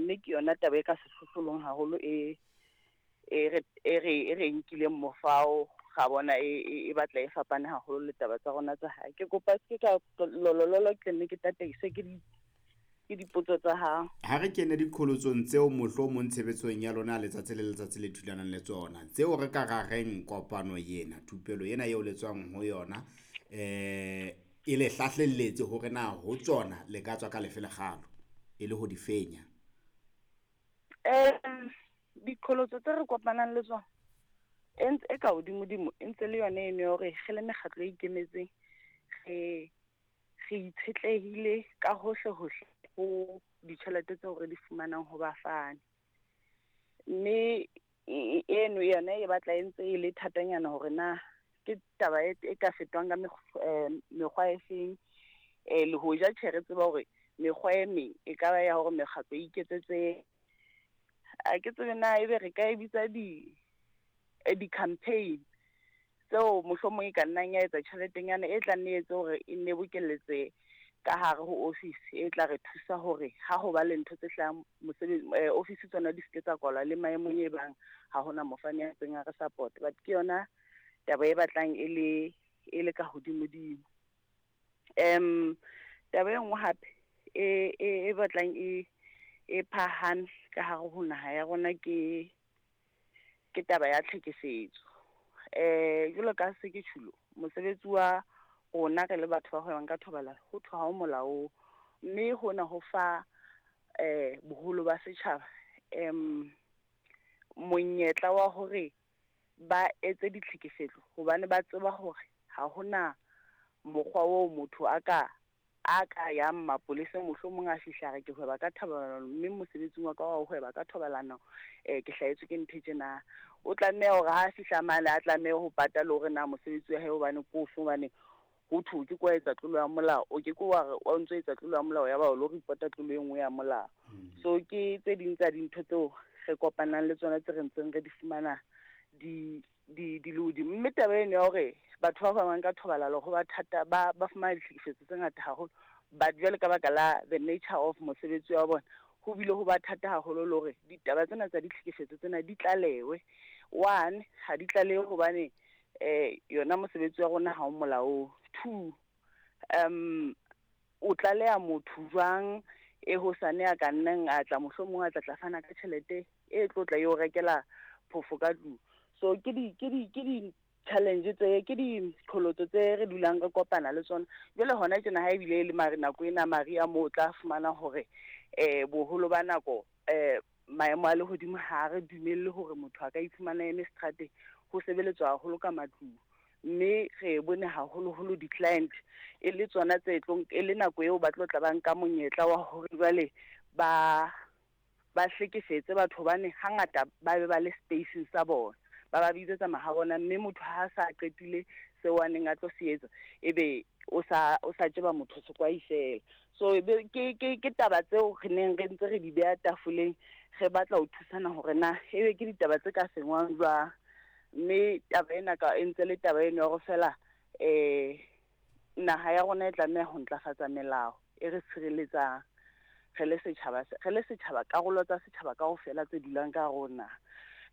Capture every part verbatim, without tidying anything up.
Mme ke yona taba e ka sehlohlolong haholo e e re e re e re nkileng mofao ga bona e e batla e fapane haholo le taba tsa rona tsa hae. Ke kopa se ka lolololo ke nne ke tataiswe ke di ke dipotso tsa hao. Ha re kene diqholotsong tseo mohlomong tshebetsong ya lona letsatsi le letsatsi le thulanang le tsona, tseo re ka ra reng kopano ena, thupelo ena eo le tswang ho yona, eh e le hlahlelletse hore na ho tsona le ka tswa ka lefe lekgalo e le ho di fenya. Um diqholotso tse re kopanang le tsona e ntse e ka hodimodimo e ntse le yona eno ya hore re le mekgatlo e ikemetseng re re itshetlehile ka hohle hohle ho ditjhelete tseo re di fumanang ho bafani. Mme eno yona e batla e ntse e le thatanyana hore na ke taba e, e ka fetwang ka mekgwa e feng. Eh le hoja tjhe re tseba hore mekgwa e meng e ka ba ya hore mekgatlo e iketsetse, a ke tsebe na ebe re ka e bitsa di di-campaign tseo mohlomong e ka nnang ya etsa tjheletenyana e tla nne etse hore e nne bokelletse ka hare ho office e tla re thusa hore ha ho ba le ntho tse hlahang mosebetsi office tsona di seke tsa kwalwa le maemong e bang ha hona mofani ya ntseng a re support. But ke yona taba e batlang e le e le ka hodimodimo. Um taba e nngwe hape e e batlang e e phahame ka hare ho naha ya rona ke ke taba ya tlhekefetso. Eh jwalo ka se ke tjhulo mosebetsi wa rona re le batho ba hwebang ka thobalano ho thwe ha o molaong, mme hona ho fa eh boholo ba setjhaba em monyetla wa hore ba etse ditlhekefetso hobane ba tseba hore ha hona mokgwa oo motho a ka a ka yang mapoleseng mohlomong a fihla re ke hweba ka thobalano mme mosebetsing wa ka wa ho hweba ka thobalano eh ke hlahetswe ke ntho tjena. O tlameha hore ha fihla mane a tlameha ho pata le hore na mosebetsi wa hae hobane ko ofe, hobane ho thwe ke kwa etsa tlolo ya molao, o ke ke wa re o ntso etsa tlolo ya molao ya ba o lo report-a tlolo e nngwe ya molao. So ke tse ding tsa dintho tseo re kopanang le tsona tse re ntseng re di fumana di di di le hodimo. Mme taba eno ya hore batho ba hwebang ka thobalano ho ba thata ba ba fumana ditlhekefetso tse ngata haholo, but jwale ka baka la the nature of mosebetsi wa bona ho bile ho ba thata haholo le hore ditaba tsena tsa ditlhekefetso tsena di tlalewe. One, ha di tlalewe hobane eh yona mosebetsi wa rona ha o molaong. Two, um o tlaleha motho jwang e hosane a ka nnang a tla mohlomong a tla tla fana ka tjhelete e tlo tla eo rekela phofo ka tlung. So ke di ke di ke di challenge tse ke diqholotso tse re dulang re kopana le tsona. Jwale hona tjena ha ebile le mare nako ena mariha moo o tla fumana hore eh boholo ba nako eh maemo a lehodimo ha re dumelle hore motho a ka iphumana eme seterateng, ho sebeletswa haholo ka matlung. Mme re bone haholoholo di-client e le tsona tse tlong e le nako eo ba tlo tla ba nka monyetla wa hore jwale ba ba hlekefetse batho hobane hangata ba be ba le spacing sa bona, ba ba bitsetsa mahabona, mme motho ha sa qetile seo a neng a tlo se etsa ebe o sa o sa tjeba motho sekwai fela. So be ke ke ke taba tseo re neng re ntse re di beha tafoleng, re batla ho thusana hore na ebe ke ditaba tse ka sengwang jwang. Mme taba ena ka e ntse le taba eno ya hore fela eh naha ya rona e tlameha ho ntlafatsa melao e re tshireletsang re le setjhaba, re le setjhaba karolo tsa setjhaba kaofela tse dulang ka hare ho naha.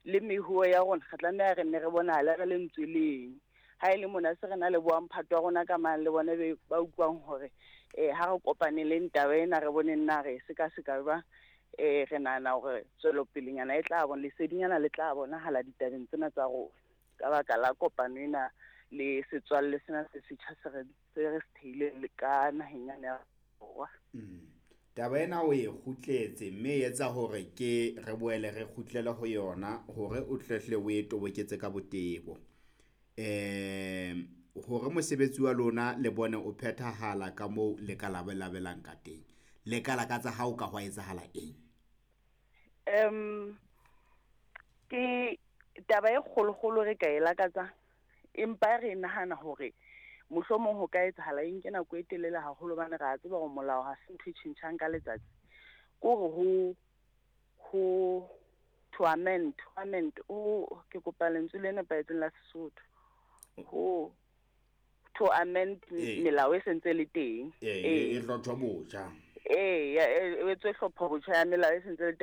Le mehuo ya rona re tlameha re nne re bonahale re le ntswe leng. Ha e le mona se re na le bo mphato wa rona ka mang le bona be ba utlwang hore eh ha re kopaneleng taba ena re boneng na re sekaseka jwang. Eh re nahana hore tswelopelenyana e tla bona lesedinyana le tla bonahala ditabeng tsena tsa rona ka baka la kopano ena le setswalle sena se setjha se re se re se theileng le ka naheng yana ya Borwa. Mm. Taba ena o e kgutletse mme e etsa hore ke re boele re kgutlele ho yona hore o tletle o e toboketse ka botebo. Eh hore mosebetsi wa lona le bone o phethahala ka moo le ka labalabelang ka teng. Le ka lakatsa ha o ka hwa etsahala eng? Um ke taba e kgolokgolo re ka e lakatsa, empa re nahana hore mohlomong ho ka etsahala eng ke nako e telele haholo hobane re a tseba hore molao ha se ntho e tjhentjhang ka letsatsi. Ke hore ho ho to amend, to amend o ke kopa lentswe le nepahetseng la Sesotho. Ho to amend melao e sentse le teng. Eh e hlotjwa botjha. Eh e etswe hlopho botjha ya melao e sentse le teng.